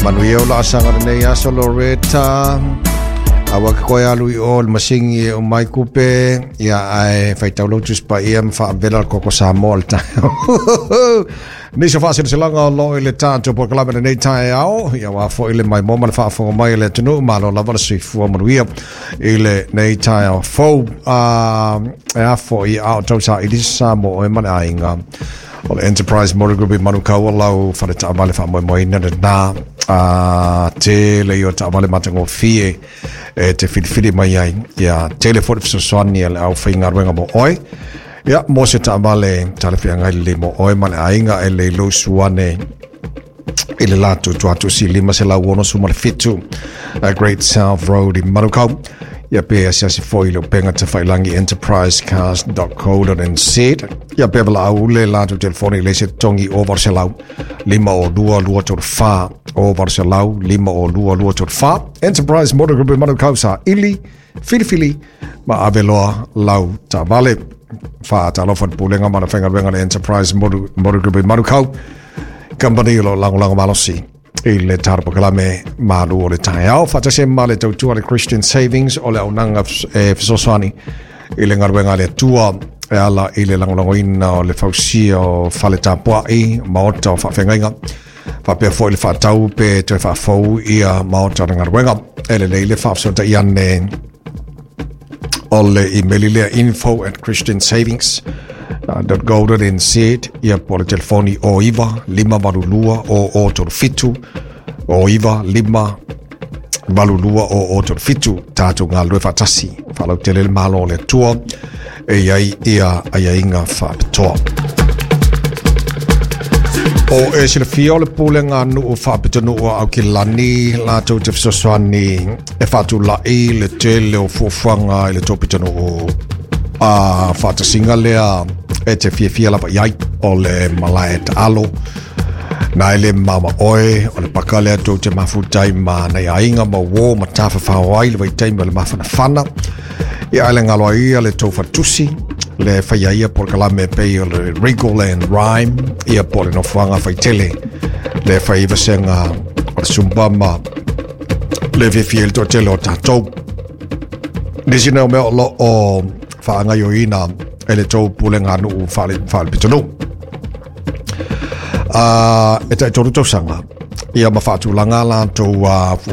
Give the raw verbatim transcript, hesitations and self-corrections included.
Manuia o laasaga lenei aso Loretta. Aua ke koe alu i o le masingi e o mai kupe. Ia ae faitau lau Tusi Paia ma faavela le koko Samoa le taeao. Nisi o faaseleselaga o loo i le tatou polokalame lenei taeao. Ia ua foi le maimoa ma le faafofoga mai a le atunuu. Malo lava le soifua manuia i lenei taeao fou. E a foi a o tausaili se sa mo oe ma le aiga. O le Enterprise Motor Group i Manukau o lau fale taavale faamoemoeina lena. A tele ia o taavale matagofie e te filifili mai ai. Ia tele foi le fesoasoani a le aufaigaluega mo oe. Ia mo se taavale talafeagai lelei mo oe ma le aiga e lei lou ane i le latou tuatusi lima selau ono suma le fitu Great South Road i Manukau. Ia pe asiasi foi i le upega tafailangi enterprise cars dot co dot n z. Ia pe valaau le latou telefoni i le isi totogi o valu selau lima o lua lua tolu fa o valu selau lima o lua lua tolu fa. Enterprise Motor Group i Manukau, saili filifili ma ave loa lau taavale. Faatalofa le pulega ma le faigaluega le Enterprise Motor, Motor Group i Manukau Company o lo lagolago malosi i le tatou polokalame Malu o le Taeao. Faatasi ma le tautua le Christian Savings o le auaunaga e fesoasoani i le galuega a le Atua e ala i le lagolagoina o le fausia o fale tapuai, maota o faafeagaiga, faapea foi le faatau pe toe faafou ia maota o le galuega. E lelei le faafesootai ane o le email lea info at christian savings dot go dot n z ia po le telefoni o iva lima valu lua o o tolu fitu o iva lima valu lua o o tolu fitu. Tatou galulue faatasi faalautele le malo o le Atua e iai ia aiaiga faapitoa. O e silafia o le pulega nuu faapitonuu a Aukilani latou te fesoasoani e faatulai le tele o fuafuaga i le tou pitonuu a faatasiga lea e te fiafia lava i ai o le malae taalo na e le mama oe o le paka lea tou te mafutai ma nai aiga ma uō ma tafafao ai le vaitaimi o le mafanafana. Ia ae le galo ai ia le tou faletusi le faia ia polokalame pei o le Regal and Rhyme ia po le nofoaga faitele le fai vasega o le Zumba ma le fiafia i le toatele o tatou. Nisi nei o mea o lo o faagaoioina e le tou pulega nuu faalepitonuu. Uh, e tai tolu tausaga ia ma faatulaga latou uh,